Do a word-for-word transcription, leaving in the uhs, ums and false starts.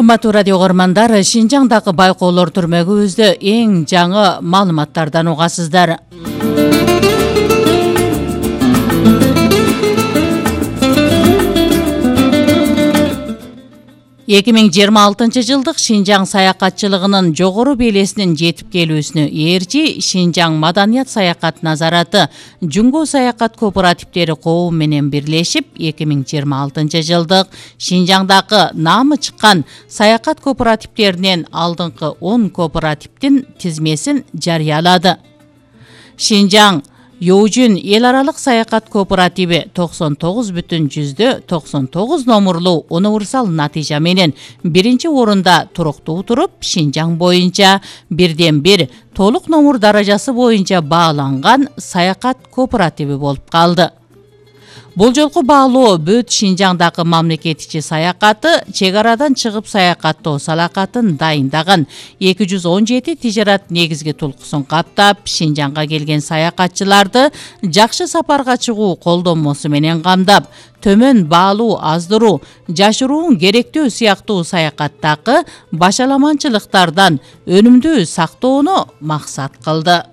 Кымбаттуу радио көрөрмандар, Шинжаңдагы байкоолор түрмөгүбүздө эң жаңы маалыматтардан угасыздар. эки миң жыйырма алтынчы жылдык Шинжаң саякатчылыгынын жогору белесинин жетип келүүсүнө ээрчи Шинжаң маданият саякат назараты Жумго саякат кооперативдери коому менен бирлешип эки миң жыйырма алтынчы жылдык Шинжаңдагы наамы чыккан саякат кооперативдеринен алдыңкы он кооперативдин тизмесин жарыялады. Шинжаң Youjun эл аралык саякат кооперативи токсон тогуз бүтүн жүздө токсон тогуз номурлуу универсал натыйжа менен биринчи орунда туруктуу туруп, Шинжаң боюнча бирден бир толук номур даражасы боюнча бааланган саякат кооперативи болуп калды. Бул жолку баалоо бүт Шинжаңдагы мамлекет ичи саякаты, чек арадан чыгып саякаттоо салакатын дайындаган эки жүз он жети тижарат негизги тулкусун каптап, Шинжаңга келген саякатчыларды жакшы сапарга чыгуу колдонмосу менен камдап, төмөн баалуу аздыруу, жашыруун керектөө сыяктуу саякаттагы башаламанчылыктардан өнүмдүү сактоону максат кылды.